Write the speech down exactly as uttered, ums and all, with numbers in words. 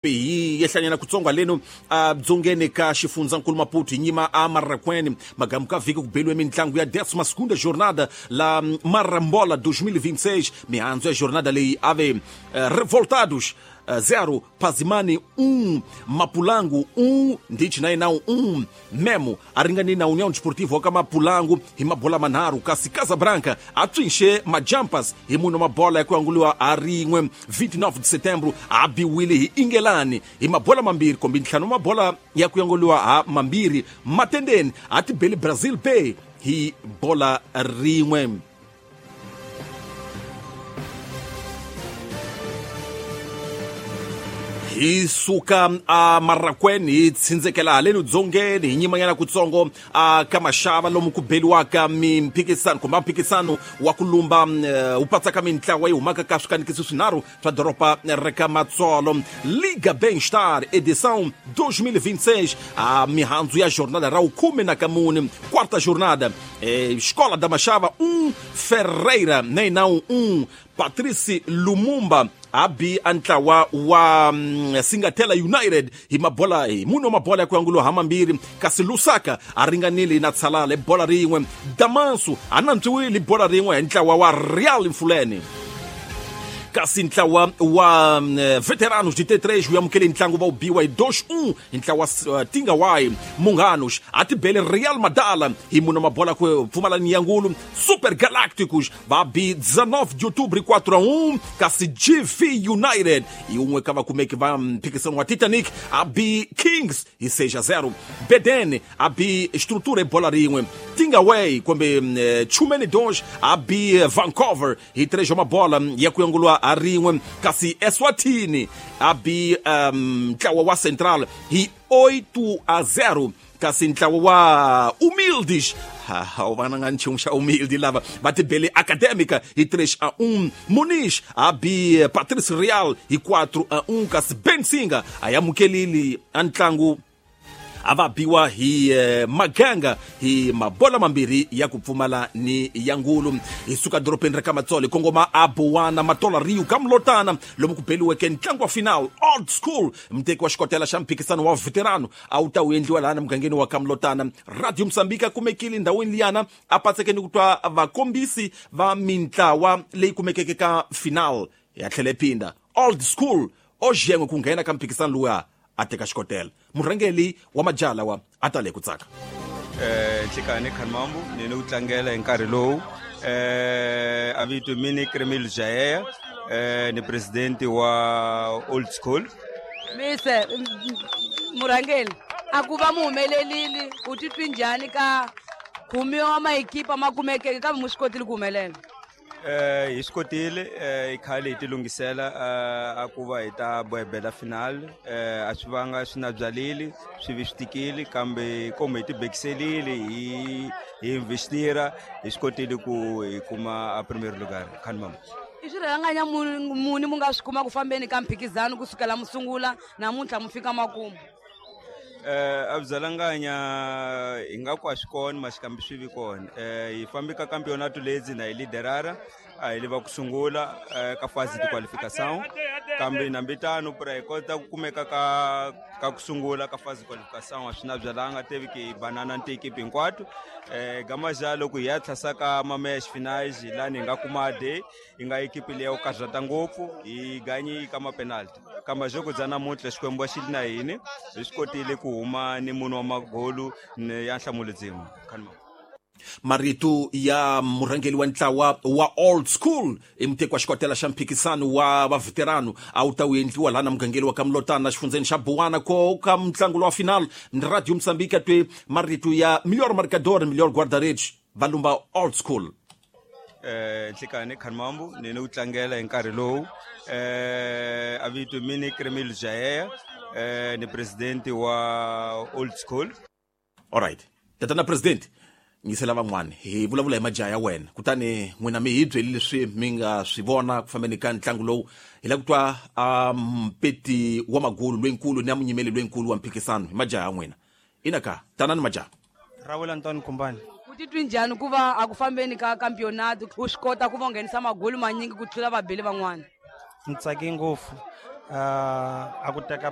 Hi yehlanyana kutsonga leno a dzongeni ka xifundzankulu Maputo hi nyima a Marracuene magamu ka vhiki ku beliwe mintlangu ya décima segunda jornada la Marambola dois mil e vinte e seis. Mihandzu ya jornada leyi ave uh, Revoltados uh, zero, Pazimani um, Mapulango um, Ndichi na inau um, Memo a ringani na União Desportiva ka Mapulango hi mabola manharhu, kasi Casabranca a tswinxe Majampas hi munhu mabola ya ku anguliwa a rin'we. Vinte e nove de setembro a biwile hi Ingelani hi mabola mambirhi kumbe ntlhanu mabola ya ku anguliwa ha mambirhi. Matendeni a tibeli Brazil Bay hi bola rin'we. Hi suka a Marracuene hi tsindzekela haleni dzongeni hi nyimanyana kutsongo a ka Mashava lomu ku beliwaka mimphikisano kumbe mphikisano wa ku lumba wu patsaka mintlawa yi humaka ka swikanekiso swinharhu swa doroba ra ka Matsolo. Liga Bem-Estar edição dois mil e vinte e seis, a mihandzu ya jornada ra khume na kamune, quarta jornada, eh, Escola da Machava um, Ferreira Neinão um, Patrice Lumumba abi antlawa wa um, Singatela United hi mabola hi muno mabola ya ku angulo ha mambirhi, kasi Lusaka a ringanile na Tsalale bola rin'we, Damansu a nantswiwile bola rin'we hi ntlawa wa Real Mfuleni. Kasi ntlawa wa um, Veteranos de T três wu amukele ntlangu va wu biwa hi dois um hi ntlawa uh, Tingawai. Munghanos a tibele Real Madala hi muno mabola ku pfumala ni yangulu. Super Galácticos va bi dezenove de outubro quatro a um, kasi G V United hi un'we ka vakumeki va mphikisano wa Titanic a bi Kings hi seis a zero. Beden a bi Estrutura hi bola rin'we. Tingaway kumbe um, Chumene dois a bi Vancouver hi três mabola ya ku yangulwa a rin'we, kasi Eswatini a bi um, ntlawa wa Central hi oito a zero, kasi ntlawa wa Humildes ha u vana nga nchumu xa Humilde lava va tibele Acadêmica hi três a um, Muniz a bi Patrice Real hi quatro a um, kasi Bensinga a amukelile a ntlangu a va biwa hi eh, Maganga hi mabola mambirhi ya ku pfumala ni ya ngulu. Hi suka dorobeni ra ka Matsolo hi kongoma a Bowana Matola Rio ka Mlotana lomu ku beliweke ntlangu wa final Old School muteki wa xikotela xa mphikisano wa veterano a wu ta wu endliwa laha mugangeni wa ka Mlotana. Radio Mozambique a kumekile ndhawini liyana a patsekeni ku twa vakombisi va mintlawa leyi kumekeke ka final ya tlhele phinda Old School o xengwe ku nghena ka mphikisano luya a teka xikotela. Murhangeli wa majala wa a tale ku tsaka. Eh Nhlikani Khanmambu ni ni ku tlangela hi nkarhi lowu eh a vito mini Kremil Jaeya eh ni president wa Old School. Mise murhangeli a ku va muhumelelile u titwi njhani ka khumiwa maekipa ma kumekeke kambe mu swi kotile ku humelela? Eh hi swi kotile eh i khale hi ti lunghisela a ku va hi ta bohebela final eh a swi vanga swi na byalile swi vi swi tikile kambe komo hi ti bekiselile hi hi investira hi swi kotile ku hi kuma a premier lugar. Khanmam i swirhanganya muni mu nga swi kuma ku fambeni ka mphikizano kusukela musungula namuntlha mu fika makumu? Eh a byalanganya hi nga ku a swi kona maxikambi swi vi kona. Eh hi fambi ka campeonato lezi na hi liderara a hi leva ku sungula ka fase de qualificação kambe nambitano pra hi kota ku kumeka ka ka ku sungula ka fase de qualificação a swi na byalanga teve ke banana ni equipe hinkwato. Eh gamaja loko hi ya tlhasa ka ma-match finals lani hi nga kuma de hi nga equipe leyi ya karhata ngopfu hi ganyi ka ma-penalty kambe joko bya namuntlha Xikwembu xi li na hini hi swi kotile ku huma ni munhu wa magolu ya nhlamulo dzima. Khanma marito ya murhangeli wa ntlawa wa Old School i muteki wa xikotela xa mphikisano wa va veterano a wu ta wu endliwa laha na mugangeli wa ka Mlotana xifundzeni xa Bowana ko ka mutlangu wa final. Radio Mozambique a twe marito ya melhor marcador melhor guarda-redes va lumba Old School. Eh Nhlikani Khanmambu ni ni ku tlangela hi nkarhi lowu eh a vito mini Kremil Jaeya eh ni president wa Old School. All right tatana president nyisela van'wana hi vulavula hi majaha ya wena kutani n'wina mi hi byeli leswi mi nga swi vona ku fambeni ka ntlangu lowu. Hi lava ku twa a mpeti wa magulu lwenkulu ni ya munyimeli lwenkulu wa mphikisano hi majaha ya n'wina. Ina ka tanani majaha. Rawela Antoine Kumbani. U titwi njhani ku va a ku fambeni ka campeonato u swi kota ku va nghenisa magulu manyingi ku tlula vabeli van'wana? Ni tsake ngopfu. Uh, a ku teka